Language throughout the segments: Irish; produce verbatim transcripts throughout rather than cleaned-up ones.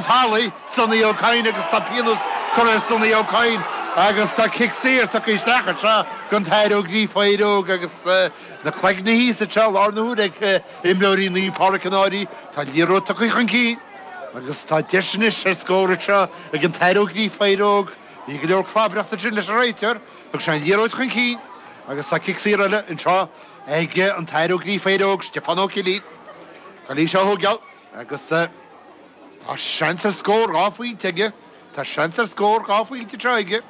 talaimh, Sonny Ó Cadhain agus tá pionós curtha ar Sonny Ó Cadhain agus tá cic saor tugtha isteach anseo don tAthair Ó Gríofa Óg agus na cloigne thíos anseo lár na huaire ag imreoirí Naomh Pádraig an Fhairche. Tá liathróid tugtha chun cinn agus tá deis anois ar scór anseo ag an tAthair Ó Gríofa Óg. Bhí go leor clabaireachta sin leis an réiteoir, thug sé an liathróid chun cinn agus tá cic saor eile anseo ag an tAthair Ó Gríofa Óg, Stiofán Ó Cillín. Cailí seo thógáil agus tá seans ar scór dhá phointe aige, Tá seans ar scór dhá phointe anseo aige.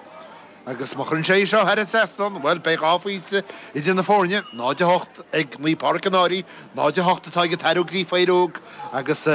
Agus má chuireann sé seo thar an trasnán, bhuel beidh dhá phointe idir na foirne, náid a hocht ag Naomh Pádraig an Fhairche, náid a hocht atá ag an tAthair Ó Gríofa Óg agus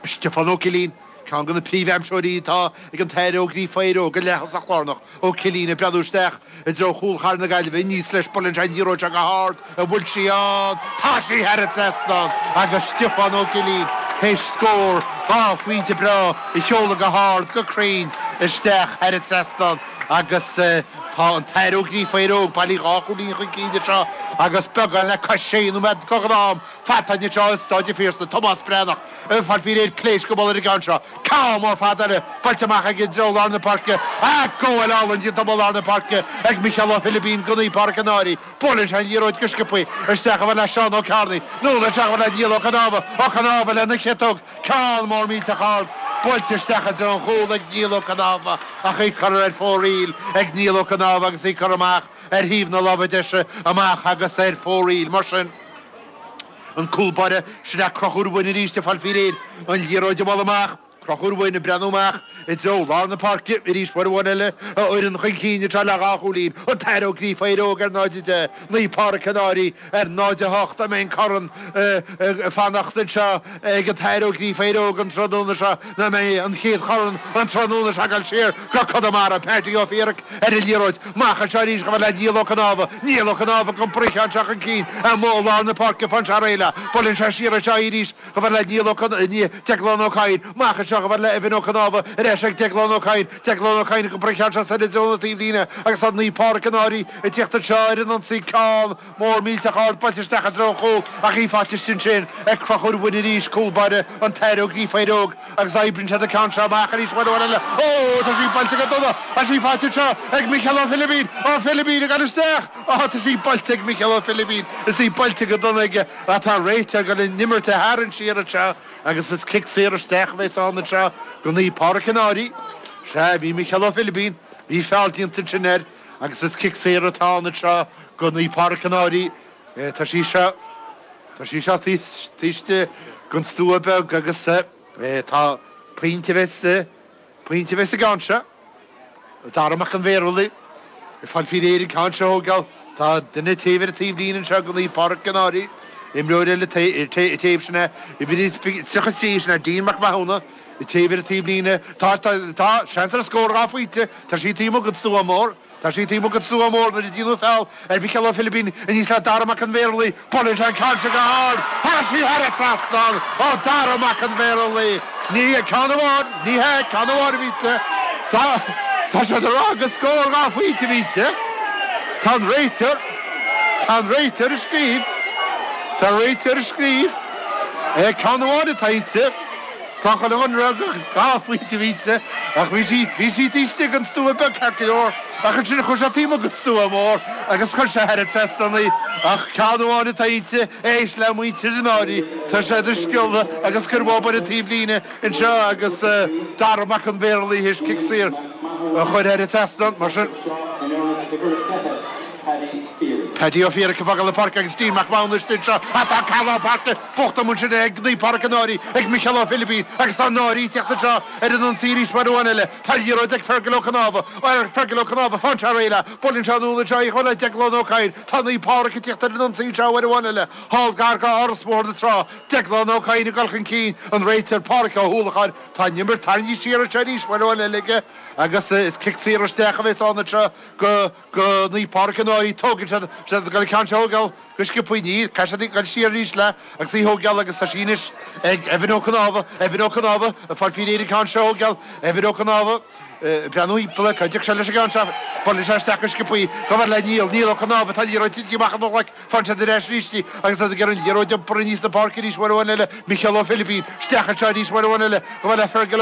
Stiofán Ó Cillín, ceann de na príomhaimseoirí atá ag an tAthair Ó Gríofa Óg, an leath-thosach lárnach Ó Cillín ag breathnú isteach i dtreo chúl chathair na Gaillimhe aníos leis buaileann sé an liathróid seo go hard an bhfuil sí ann, tá sí thar an trasnán agus Stiofán Ó Cillín théis scór dhá phointe breá a sheoladh go hard go cruinn isteach thar an trasnán agus tá an tAthair Ó Gríofa Óg bailithe dhá chúilín chun cinn anseo agus beagán le cois sé nóiméad go am fada anseo i Staid an Phiarsaigh Tomás Breathnach ag fáil faoi réir pléasc go ar an gceann seo. Ceann mór fada eile buailte amach ag dtreo lár na páirce a gabháil álainn déanta lár na páirce ag Micheál Ó Philibín go Naomh Pádraig an Fhairche. Buaileann sé an liathróid go sciobtha isteach a bheith le Seán Ó Cearnaigh, nó isteach a bheith le Niall Ó Canámha Ó Canámha lena chiotóg ceann mór millteach ard buailte isteach i dtreo an chúil ag Niall Ó Canámha ach í curtha ar fóraoil ag Niall Ó Canámha agus í curtha amach ar thaobh na láimhe deise amach agus ar fóraoil mar sin. An cúl báire sin é Conchúr Ó Broin arís ag fáil faoi réir an liathróid a bhualadh amach. Conchúr Ó Broin ag breathnú amach i dtreo lár na páirce arís uair amháin eile a fhoireann chun cinn anseo le dhá chúilín. An tAthair Ó Gríofa Óg ar náid a deich, Naomh Pádraig an Fhairche ar náid a hocht an mbeidh an corn fanacht anseo ag an tAthair Ó Gríofa Óg an tráthnóna seo nó an mbeidh an chéad chorn an tráthnóna seo ag dul siar go Conamara Paddy Ó Fiaraic ar an liathróid. Amach anseo arís go bhfuil le Niall Ó Canámha, Niall Ó Canámha go bruicheán seo chun cinn amuigh lár na páirce fan sé réile. Buaileann sé siar anseo arís go bhfuil le Niall Ó Declan Ó Cadhain, amach anseo go bhfuil le Evan Ó Canámha ar ais ag Declan Ó Cadhain, Declan Ó Cadhain go bruicheán seo sa dtreo na taobhlíne agus tá Naomh Pádraig an Fhairche ag tíocht anseo ar an ionsaí ceann mór millteach ard buailte isteach i dtreo an chúil ach í faighte ansin ag Conchúr Ó Broin arís cúl báire an tAthair Ó Gríofa Óg agus oibríonn siad an ceann seo amach arís uair eile. Ó tá sí buailte go dona tá sí faighte anseo ag Micheál Ó Philibín Ó Philibín ag dul isteach Ó tá sí buailte ag Micheál Ó Philibín is í buailte go dona aige atá réiteoir ag dul an imirt a tharraingt siar anseo agus is cic saor isteach a bheas ann anseo go Naomh Pádraig an Fhairche. Sea bhí Micheál Ó Philibín, bhí feall déanta ansin air agus is cic saor atá ann anseo go Naomh Pádraig an Fhairche. Tá sí seo Tá sí seo taobh den stua beag agus tá pointe a bheas pointe a bheas sa gceann seo. Dara Mac an Bhéarlaí ag fáil faoi réir an ceann seo a thógáil tá duine taobh ar an taobhlíne anseo go Naomh Pádraig an Fhairche. Imreoir eile taobh sin é tríocha trí sin é Dean Mac Mathúna taobh ar an taobhlíne tá tá seans ar scór dhá phointe tá sí taobh amuigh den stua mór. Tá sí taobh amuigh den stua mór nuair a déanadh feall ar Mhicheál Ó Philibín aníos le Dara Mac an Bhéarlaí, buaileann sé an ceann seo go hard, tá sí thar an trasnán ó Dara Mac an Bhéarlaí. Ní ceann amháin, ní hea ceann amháin a bhí Tá Tá sé ag rá gur scór dhá phointe a bhí Tá an réiteoir Tá an réiteoir ag scríobh Tá réiteoir ag scríobh é ceann amháin atá inti Tá chu an rud dhá phointe a bhí ach bhí sí bhí sí taobh istigh den stua beag ceart go leor ach ansin chuir sé taobh amuigh den stua mór agus chuir sé thar an trasnán í ach ceann amháin atá inti éist le muintir an Fhairche Tá sé ag sciolladh agus cur ar an taobhlíne anseo agus Dara Mac an Bhéarlaí théis cic saor a chur ar an trasnán mar sin. Paddy Ó Fiaraic ag fágáil na páirce agus Dean Mac Mathúna istigh anseo atá Calá Páirce bocht mun sin ag Naomh Pádraig an Fhairche ag Micheál Ó Philibín agus tá an Fhairche ag tíocht anseo ar an ionsaí arís mar amháin eile Tá liathróid ag Fergal Ó Canámha Fergal Ó Canámha fan sé réile Buaileann sé anall anseo í chuile le Declan Ó Cadhain Tá Naomh Pádraig ag tíocht ar an ionsaí anseo uair amháin eile Thall gar go Áras Bhóthar na Trá Declan Ó Cadhain ag dul chun cinn an réiteoir Pádraig Ó hUallacháin Tá an imirt tarraingthe siar anseo arís uair amháin eile aige agus is cic saor isteach a bheas ann anseo go go Naomh Pádraig an Fhairche tógann siad siad go ceann seo thógáil go sciobtha níl caithfidh siad dul siar arís le agus í thógáil agus tá sí anois ag Evan Ó Canámha Evan Ó Canámha ag fáil faoi réir an ceann seo thógáil Evan Ó Canámha breathnú thimpeall cá dtiocfaidh sé leis an gceann seo buaileann sé isteach go sciobtha go bhfuil le Niall Niall Ó Canámha tá liathróid tite amach ina ghlaic faigheann siad ar ais arís í agus iad ag iarraidh an liathróid iompar aníos na páirce arís uair amháin eile Micheál Ó Philibín isteach anseo arís uair amháin eile go bhfuil le Fergal